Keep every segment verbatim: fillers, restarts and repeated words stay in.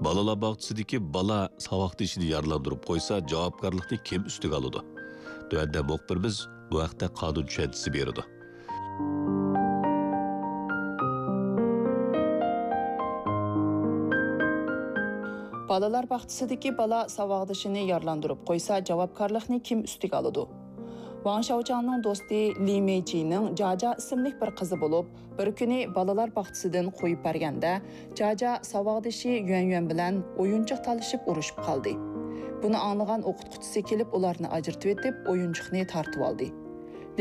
بالىلار باغچىسىدىكى بالا ساۋاقدىشىنى يارىلاندۇرۇپ قويسا، جاۋابكارلىقنى كىم ئۈستىگە ئالىدۇ؟ تۆۋەندە مۇخبىرىمىز بۇ ھەقتە قانۇن چۈشەنچىسى بېرىدۇ. بالىلار باغچىسىدىكى بالا ساۋاقدىشىنى يارىلاندۇرۇپ قويسا، جاۋابكارلىقنى كىم ئۈستىگە ئالىدۇ؟ ۋاڭ شاۋچاڭنىڭ دوستى لى مېيچىنىڭ جاجا ئىسىملىك بىر قىزى بولۇپ، بىر كۈنى بالىلار باغچىسىدىن قويۇپ بەرگەندە، جاجا ساۋاقدىشى يۈەن يۈەن بىلەن ئويۇنچۇق تالىشىپ ئۇرۇشۇپ قالدى. بۇنى ئاڭلىغان ئوقۇتقۇچىسى كېلىپ، ئۇلارنى ئاجرىتىۋېتىپ، ئويۇنچۇقنى تارتىۋالدى.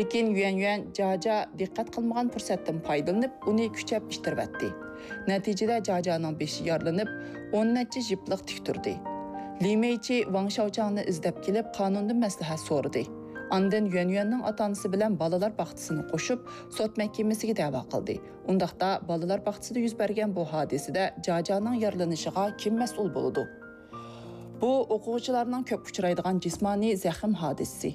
لېكىن يۈەن يۈەن جاجا دىققەت قىلمىغان پۇرسەتتىن پايدىلىنىپ، ئۇنى كۈچەپ ئىتتىرىۋەتتى. نەتىجىدە جاجانىڭ بېشى يارىلىنىپ، ئون نەچچە يىپلىق تىك تۇردى. لى مېيچى ۋاڭ شاۋچاڭنى ئىزدەپ كېلىپ، قانۇندىن مەسلىھەت سورىدى. ئاندىن يۈەن يۈەننىڭ ئاتا-ئانىسى بىلەن بالىلار باغچىسىنى قوشۇپ، سوت مەھكىمىسىگە دەۋا قىلدى. ئۇنداقتا، بالىلار باغچىسىدا يۈز بەرگەن بۇ ھادىسىدە جاجانىڭ يارىلىنىشىغا كىم مەسئۇل بولىدۇ؟ بۇ ئوقۇغۇچىلارنىڭ كۆپ ئۇچرايدىغان جىسمانىي زەخىم ھادىسىسى.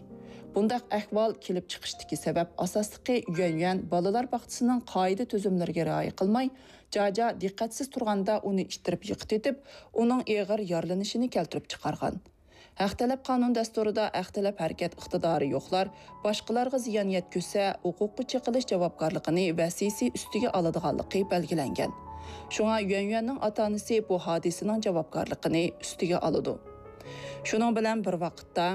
بۇنداق ئەھۋال كېلىپ چىقىشتىكى سەۋەب ئاساسلىقى يۈەن يۈەن بالىلار باغچىسىنىڭ قائىدە-تۈزۈملىرىگە رىئايە قىلماي، جاجا دىققەتسىز تۇرغاندا ئۇنى ئىتتىرىپ يىقىتىۋېتىپ، ئۇنىڭ ئېغىر يارىلىنىشىنى كەلتۈرۈپ چىقارغان. ھەق تەلەپ قانۇن دەستۇرىدا ھەق تەلەپ ھەرىكەت ئىقتىدارى يوقلار باشقىلارغا زىيان يەتكۈزسە، ھوقۇققا چېقىلىش جاۋابكارلىقىنى ۋەسىسى ئۈستىگە ئالىدىغانلىقى بەلگىلەنگەن. شۇڭا يۈەن يۈەننىڭ ئاتا-ئانىسى بۇ ھادىسىنىڭ جاۋابكارلىقىنى ئۈستىگە ئالىدۇ. شۇنىڭ بىلەن بىر ۋاقىتتا،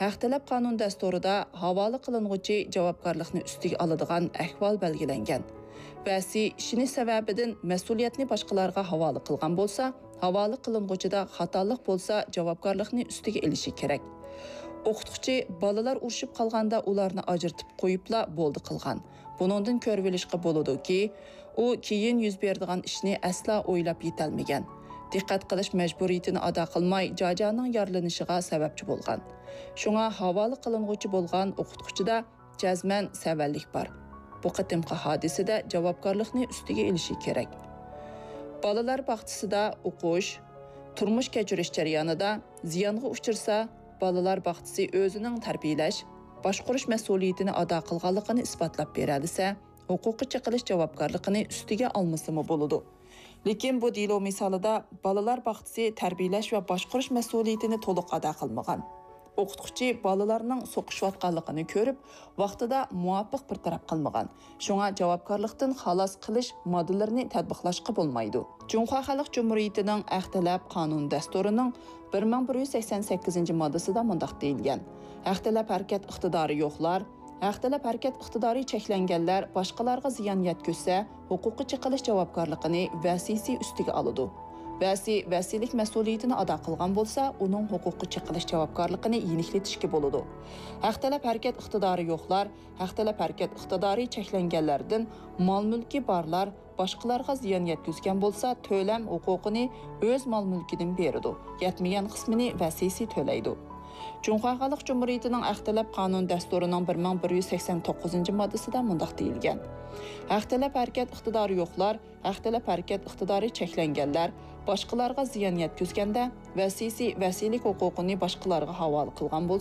ھەق تەلەپ قانۇن دەستۇرىدا ھاۋالە قىلىنغۇچى جاۋابكارلىقنى ئۈستىگە ئالىدىغان ئەھۋال بەلگىلەنگەن. ۋەسىي ئىشىنىش سەۋەبىدىن مەسئۇلىيەتنى باشقىلارغا ھاۋالە قىلغان بولسا، ھاۋالە قىلىنغۇچىدا خاتالىق بولسا، جاۋابكارلىقنى ئۈستىگە ئېلىشى كېرەك. ئوقۇتقۇچى بالىلار ئۇرۇشۇپ قالغاندا ئۇلارنى ئاجرىتىپ قويۇپلا بولدى قىلغان. بۇنىڭدىن كۆرۈۋېلىشقا بولىدۇكى، ئۇ كېيىن يۈز بېرىدىغان ئىشنى ئەسلا ئويلاپ يېتەلمىگەن. دىققەت قىلىش مەجبۇرىيىتىنى ئادا قىلماي، جاجانىڭ يارىلىنىشىغا سەۋەبچى بولغان. شۇڭا ھاۋالە قىلىنغۇچى بولغان ئوقۇتقۇچىدا جەزمەن سەۋەنلىك بار. بۇ قېتىمقى ھادىسىدە جاۋابكارلىقنى ئۈستىگە ئېلىشى كېرەك. بالىلار باغچىسىدا ئوقۇش، تۇرمۇش كەچۈرۈش جەريانىدا زىيانغا ئۇچرىسا، بالىلار باغچىسى ئۆزىنىڭ تەربىيەلەش، باشقۇرۇش مەسئۇلىيىتىنى ئادا قىلغانلىقىنى ئىسپاتلاپ بېرەلىسە، ھوقۇققا چېقىلىش جاۋابكارلىقىنى ئۈستىگە ئالمىسىمۇ بولىدۇ. لېكىن بۇ دېلو مىسالىدا بالىلار باغچىسى تەربىيەلەش ۋە باشقۇرۇش مەسئۇلىيىتىنى تولۇق ئادا قىلمىغان. ئوقۇتقۇچى بالىلارنىڭ سوقۇشۇۋاتقانلىقىنى كۆرۈپ، ۋاقتىدا مۇۋاپىق بىر تەرەپ قىلمىغان. شۇڭا جاۋابكارلىقتىن خالاس قىلىش ماددىلىرىنى تەتبىقلاشقا بولمايدۇ. جۇڭخۇا خەلق جۇمھۇرىيىتىنىڭ ھەق تەلەپ قانۇن دەستۇرىنىڭ بىر مىڭ بىر يۈز سەكسەن سەككىزىنچى ماددىسىدا مۇنداق دېيىلگەن: ھەق تەلەپ ھەرىكەت ئىقتىدارى يوقلار، ھەق تەلەپ ھەرىكەت ئىقتىدارى چەكلەنگەنلەر باشقىلارغا زىيان يەتكۈزسە، ھوقۇققا چېقىلىش جاۋابكارلىقىنى ۋەسىسى ئۈستىگە ئالىدۇ. ۋەسى ۋەسىيلىك مەسئۇلىيىتىنى ئادا قىلغان بولسا، ئۇنىڭ ھوقۇققا چېقىلىش جاۋابكارلىقىنى يېنىكلىتىشكە بولىدۇ. ھەق تەلەپ ھەرىكەت ئىقتىدارى يوقلار، ھەق تەلەپ ھەرىكەت ئىقتىدارى چەكلەنگەنلەردىن مال-مۈلكى بارلار باشقىلارغا زىيان يەتكۈزگەن بولسا، تۆلەم ھوقۇقىنى ئۆز مال-مۈلكىدىن بېرىدۇ، يەتمىگەن قىسمىنى ۋەسىسى تۆلەيدۇ. جۇڭخۇا خەلق جۇمھۇرىيىتىنىڭ ھەق تەلەپ قانۇن دەستۇرىنىڭ بىر مىڭ بىر يۈز سەكسەن توققۇزىنچى ماددىسىدا مۇنداق دېيىلگەن: ھەق تەلەپ ھەرىكەت ئىقتىدارى يوقلار، ھەق تەلەپ ھەرىكەت ئىقتىدارى چەكلەنگەنلەر باشقىلارغا زىيان يەتكۈزگەندە، ۋەسىسى ۋەسىيلىك ھوقۇقىنى باشقىلارغا ھاۋالە قىلغان بولسا،